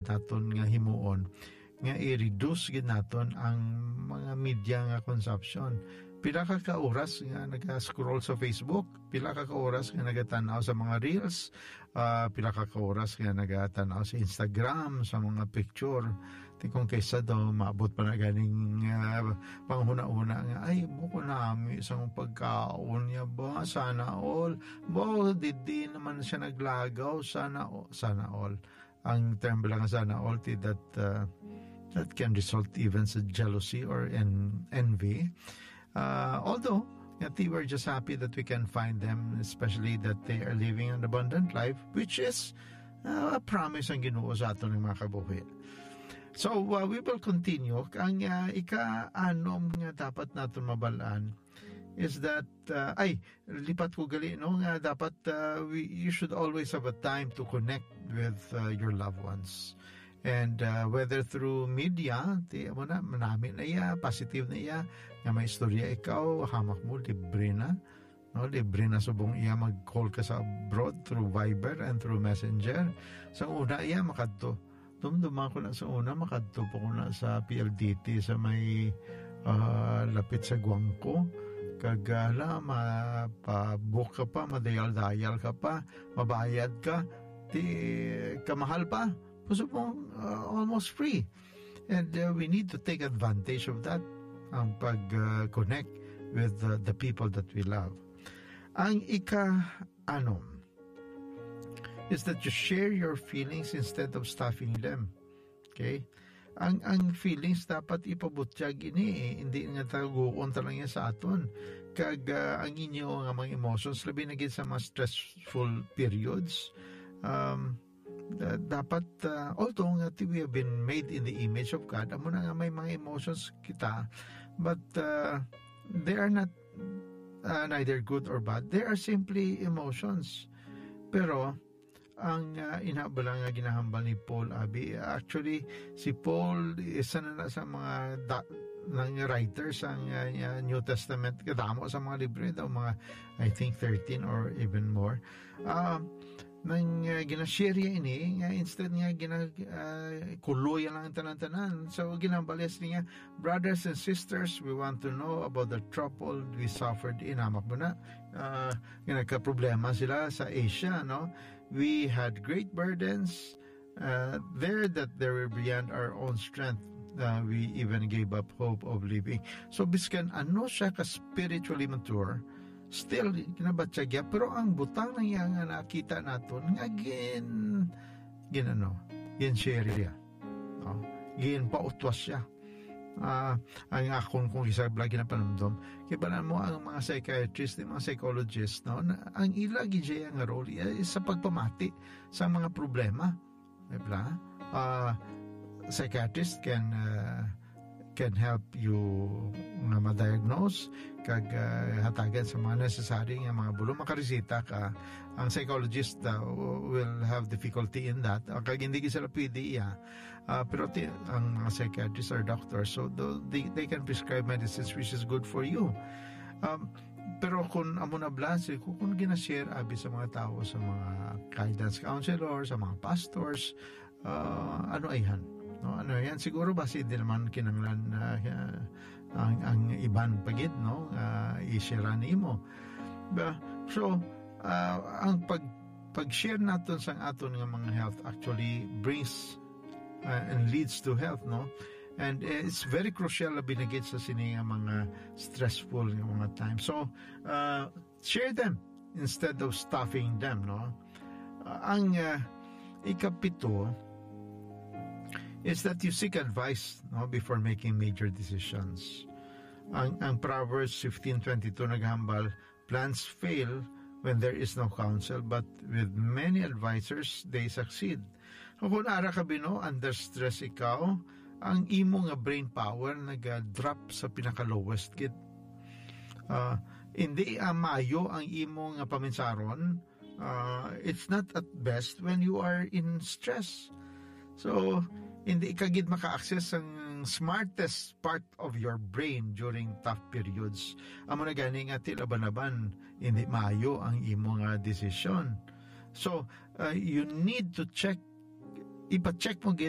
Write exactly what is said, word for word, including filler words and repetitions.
naton nga himuon nga i-reduce gid naton ang mga media nga consumption. Pila ka ka oras nga naga-scroll sa Facebook? Pila ka ka oras nga nagatan-aw sa mga reels? Ah, pila ka ka oras nga nagatan-aw sa Instagram, sa mga picture? Ti kung kaysa daw, maabot pa na ganing, ah, panghuna-huna nga, "Ay, buko nami sa akong pagkaon niya ba? Sana all." Bo, didi naman siya naglagaw. Sana, o-, sana all. Ang term lang sana all, ti that, uh, that can result even sa jealousy or en-, envy. Uh, although, nga ti, we're just happy that we can find them, especially that they are living an abundant life, which is, uh, a promise ang Ginoo sa aton nga mga kabuhi. So, uh, we will continue. Ang, uh, ika-anom nga dapat naton mabalaan is that, uh, ay, lipat ko gali, no, nga dapat, uh, we, you should always have a time to connect with, uh, your loved ones. And, uh, whether through media, ti, amo na, manami na iya, positive na iya, nga may istorya ikaw, hamak mo, libre na. No, libre na subong iya mag-call ka sa abroad through Viber and through Messenger. Sa una iya, makadto. Dumduman ko na sa una, makadto po ko na sa P L D T sa may, ah, lapit sa Guangco. Kag, ah, hala, mapabook ka pa, madayal-dayal ka pa, mabayad ka, ti kamahal pa. Gusto mo, ah, almost free. And, uh, we need to take advantage of that, ang pag, uh, connect with, uh, the people that we love. Ang ika-anom is that you share your feelings instead of stuffing them. Okay? Ang, ang feelings dapat ipabutyag ini, eh. Hindi nga taguon ta lang yan sa aton. Kag, uh, ang inyo nga mga emotions, labi na gid sa mga stressful periods, um, uh, dapat, uh, although nga ti-, we have been made in the image of God, amo na nga may mga emotions kita, but, uh, they are not, uh, neither good or bad. They are simply emotions. Pero ang, uh, inabala nga ginahambal ni Paul, abi, actually, si Paul, isa na na sa mga da-, nang writers ang, uh, uh, New Testament, kadamo sa mga libro daw, mga, I think, thirteen or even more. Ah, nang, ah, ginashare niya ini, nga instead nga gina-, ah, kuloy lang ang tanan-tanan. So, ginambalis niya, "Brothers and sisters, we want to know about the trouble we suffered in," hamak mo na, ah, nga nagkaproblema sila sa Asia, no? "We had great burdens, uh, there that they were beyond our own strength. Uh, we even gave up hope of living." So, biskan ano siya ka spiritually mature, still, ginabatyag niya. Pero ang butang na niya nga nakita naton, nga gin-, gin-, ano, gin-share niya. No? Ginpautwas siya. Ah, ang akon kung isa bala ginapanumdom, kay bala mo ang mga psychiatrist, ang mga psychologist, no, na, ang ila gid siya nga role, eh, sa pagpamati sa mga problema. Di ba? Ah, psychiatrist can, ah, can help you nga ma-diagnose kag, ah, hatagan sa mga necessary nga mga bulong. Makaresita ka. Ang psychologist, ah, will have difficulty in that. Ah, kag hindi gid sila pwede iya. Ah, pero ti-, ang mga psychiatrists are doctors, so tho-, they, they can prescribe medicines which is good for you. Um, pero kung amo na bala, si-, kung, kung ginashare abi sa mga tao, sa mga guidance counselor, sa mga pastors, ah, ano ayhan? No, ano yan? Siguro basi hindi naman kinanglan na, ah, ang, ang iban pa gid, no, ah, i-share nimo. Ba, so, ah, ang pag, pag-share naton sang aton nga mga health actually brings, ah, and leads to health, no? And, eh, it's very crucial, labi na gid sa sini nga mga stressful nga mga time. So, ah, share them instead of stuffing them, no? Ah, ang, ah, ikapito is that you seek advice, no, before making major decisions. Ang, ang Proverbs fifteen twenty-two naghambal, "Plans fail when there is no counsel, but with many advisors, they succeed." Kung ara ka bino, under stress ikaw, ang imo nga brain power naga-drop sa pinaka-lowest gid. Ah, hindi, ah, maayo ang imo nga paminsaron. Ah, it's not at best when you are in stress. So, hindi ka gid maka-access ang smartest part of your brain during tough periods. Amo na gani nga ti laban-laban, hindi maayo ang imo nga desisyon. So, uh, you need to check, ipa-check mo gid